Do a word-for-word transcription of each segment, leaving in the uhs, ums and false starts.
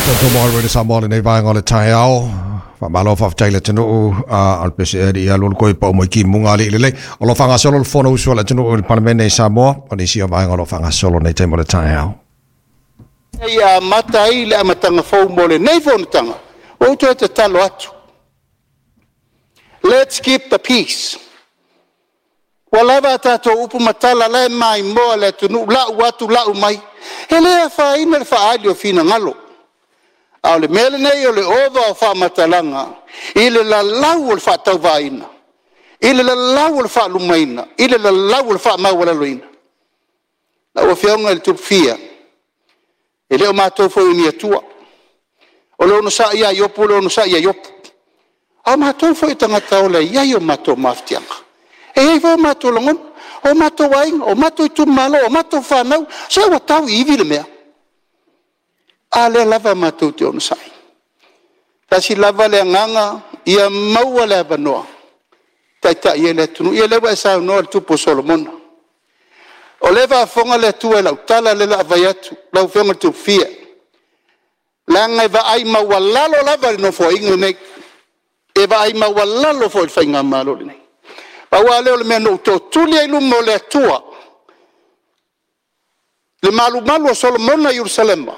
Tatou mo le Samoa lenei vaega o le taeao. Faamalo faafetai le atunuu a o le pese e ia lulu koi pa mo ki munga le lelei. O lo faagasolo le Fonousu a le atunuu i le Palemene i Samoa. O nisi o vaega o lo o faagasolo nei taimi o le taeao. Ia amata ai le amataga fou mo lenei fonotaga, ua ou toe tatalo atu. Let's keep the peace. Ua lava a tatou upu ma tala, o la e maimoa le atunuu, lau atu lau mai. E le afaina le faaali o finagalo. A o le mea lenei o le ova o faamatalaga i le lalau o le faatauvaaina, i le lalau o le faalumaina, i le lalau o le faamaualaloina. Lau Afioga i le Tupufia, e le o matou foi o ni atua. O le onosai lava a Iopu o le onosai lava a Iopu. A o matou foi o tagata ola e i ai o matou mafatiaga, e i ai foi o matou lagona, o matou aiga, o matou itumalo, o matou fanau, se ua tau i ivi le mea. A lea lava matou te onosai. Tasi lava le agaga, ia maua le avanoa e taitai ai le atunuu. Ia o lea ua e saunoa i le tupu o Solomona. O lea e faafofoga le Atua i lau tala lea o le a fai atu lau Afioga i le Tupufia, leaga e vaai maualalo lava i le Nofoaiga lenei, e vaai maualalo foi i le Faigamalo lenei. Pau lava lea o le mea na ou tootuli ai i luma o le Atua, le malumalu o Solomona i Yerusalema,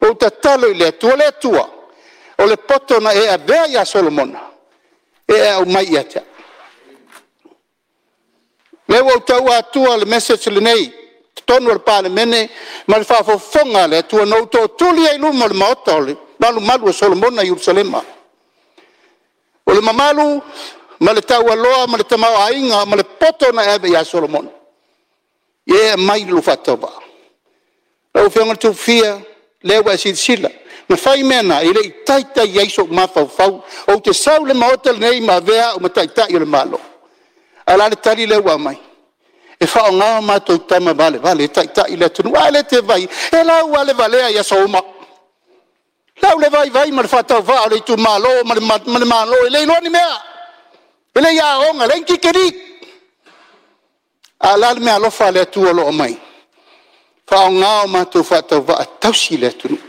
ou tatalo i le Atua, le Atua, o le poto na e avea ia Solomona, e e aumai ia te au. O lea ua ou taua atua le message lenei i totonu o le Palemene ma le faafofoga a le Atua, na ou tootuli ai i luma o le maota o le malumalu o Solomona i Yerusalema. O le mamalu ma le taualoa ma le tamaoaiga ma le poto na e ave ia Solomona, ia e aumai i lou faatauvaa. Lau Afioga i le Tupufia, o lea ua e silasila, na fai mea na, e le i taitai i ai sou mafaufau ou te sau i le Maota lenei ma avea au ma Taitai o le Malo. Ae o le a le tali lea ua aumai? E faaaoga o matou tama valevale e taitai le atunuu. A lea e te vaai i ai? E lauvalevale i aso uma. Lau le vaivai ma le faatauvaa o le itumalo ma le, ma le Malo e le iloa ni mea, e le i aoga, leai ni tikeri. A o le a le meaalofa a le Atua o lo o aumai? Faaaoga o matou faatauvaa e tausi le atunuu.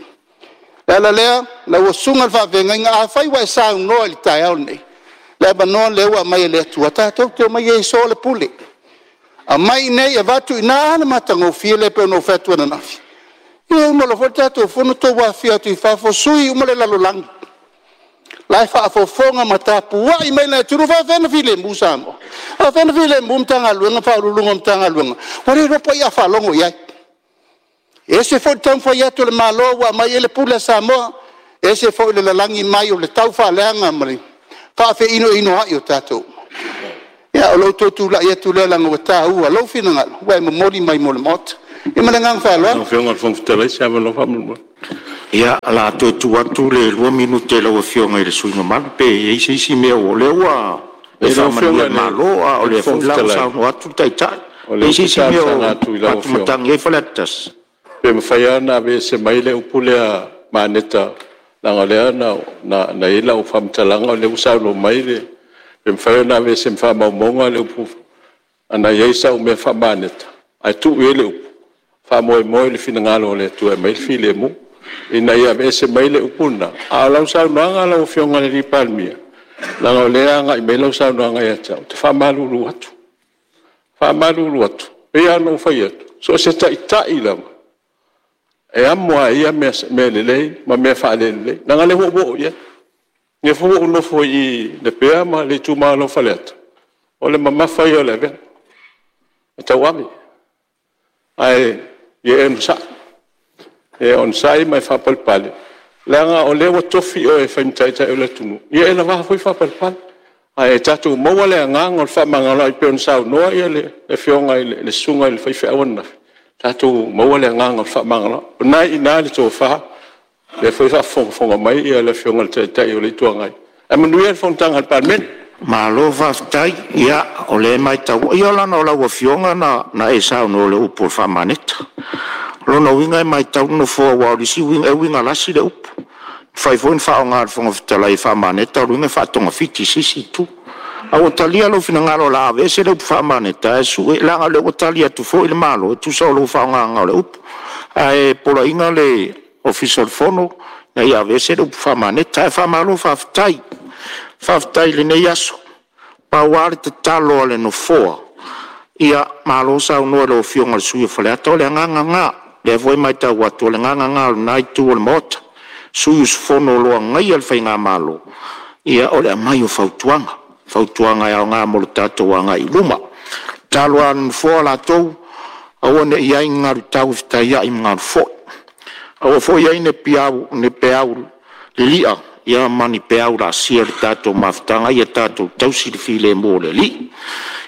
O le ala lea, lau susuga i le faafeagaiga, afai ua e saunoa i le taeao lenei, le avanoa lea ua aumai e le Atua tatou te omai e so le pule, aumai i inei avatu i ina. A le matagofie lea pei ona ou fai atu ananafi. Ia e uma loa foi le tatou fono tou afifio atu i fafo, sui uma le lalolagi, la e faafofoga ma tapuai mai le atunuu. E faapefea ona filemu Samoa? E faapefea ona filemu Matagaluega ma Ofisa Sili o Pulega o Matagaluega ua le iloa po o ai a faalogo i ai? E ese foi le taumafai atu o le Malo ua aumai ai le pule a Samoa, ese foi le lalagi mai o le taufaaleaga ma le faafeinoinoai o tatou uma. Ia, o lou toe tulai atu lea leaga ua taua lou finagalo ua e momoli mai mo le Maota. Ia ma le agaga faaaloalo. Lau Afioga i le Fofoga Fetalai, se avanoa faamolemole. Ia, o le a toe tuu atu le lua minute i lau Afioga i le sui usufono mamalu, pe i ai se isi mea o lea ua Lau faamanuia Afioga le i le Malo, a o lea foi Fofoga la ua Fetalai, saunoa atu le Taitai. o E lea i ai ou se te isi mea talosaga o atu i lau Afioga, faamatagi ai Faleata tasi? pe mafai lava ona aveese mai le upu lea maaneta, leaga o lea na na i ai lau faamatalaga o lea ua saunoa mai le... pe mafai ona aveese ma faamaumauga le upu ana i ai sau mea faamaaneta, ae tuu i ai le upu, faamoemoe i le finagalo o le Atua e aumai le filemu, ina ia aveese mai le upu lena. A o lau saunoaga lau Afioga i le Palemia, leaga o lea e agai mai lau saunoaga ia te au, ou te faamalulu atu, faamalulu atu, e pei lava ona ou fai atu, so o se Taitai lava, e amo lava e ia mea lelei ma mea faale-lelei, leaga o lea ua ou oo i ai. O lea foi ua ou nofo i i Lepea ma le itumalo o Faleata, o le mamafa ia o le avega, e tauave. Ae ia e onosai, ia e onosai ma e faapalepale, leaga o lea ua tofi oe e fai ma Taitai o le atunuu, ia e lava foi le faapalepale. Ae tatou maua le agaga o le fefaamagaloai pei ona saunoa le Afioga i le Susuga i le faifeau ananafi, tatou maua le agaga o le fefaamagaloai. O lena e i ina le tofa, o lea foi e faafogafoga mai le Afioga i le Taitai o le Itu Agai. Ae manuia le fonotaga a le Palemene. Malo faafetai. Ia, o lea e matau, ia leaga o lau Afioga na e saunoa i le upu o le faamaneta. O lona uiga e matau le Nofoa aua o le isi uiga, e uiga lasi le upu. E mafai foi ona faaaoga e le Fofoga Fetalai e faamaneta, o lona uiga e faatogafiti i se isi itu. Ae ua talia lou finagalo o le a aveese le upu faamaneta, ae leaga o lea ua tali atu foi le Malo e tusa o lou faaaogaina o le upu. Ae poloaiga le Ofisa o le Fono Ina ia aveese le upu faamaneta. Ae faamalo faafetai, faafetai i lenei aso. Pau lava le tatalo a le Nofoa, ia malo saunoa i lau Afioga i le sui usufono mo Faleata. O le agaga lena, o lea foi e matau atu, o le agaga lena o lena Itu o le Maota, sui usufono o lo o agaia le faigamalo, ia o le aumai o fautuaga, fautuaga e aoga mo le tatou agai i luma. O le tatalo lava a le Nofoa latou, aua ne i i ai ni galu tau e fetaiai ma galu foi, aua foi ne i i ai ni peau lili'a ma ni peau laasia i le tatou mafutaga, ia tatou tausi le filemu o le Alii.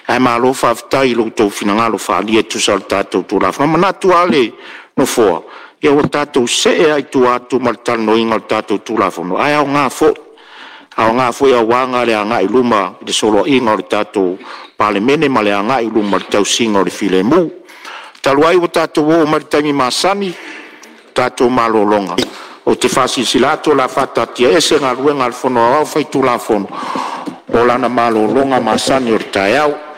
Ae malo faafetai i lo outou finagalo faaalia e tusa o le tatou Tulafono. E manatu lava le Nofoa, ia ua tatou see lava i tua atu ma le talanoaina o le tatou Tulafono, ae aoga foi, aoga foi aua le agai i luma i le soloaiga o le tatou Palemene ma le agai i luma i le tausiga o le filemu. Talu ai ua tatou oo mai i le taimi masani o le tatou malologa, ou te faasilasila atu o le a faataatiaese Galuega a le Fono Aoao Faitulafono mo lana malologa masani o le taeao.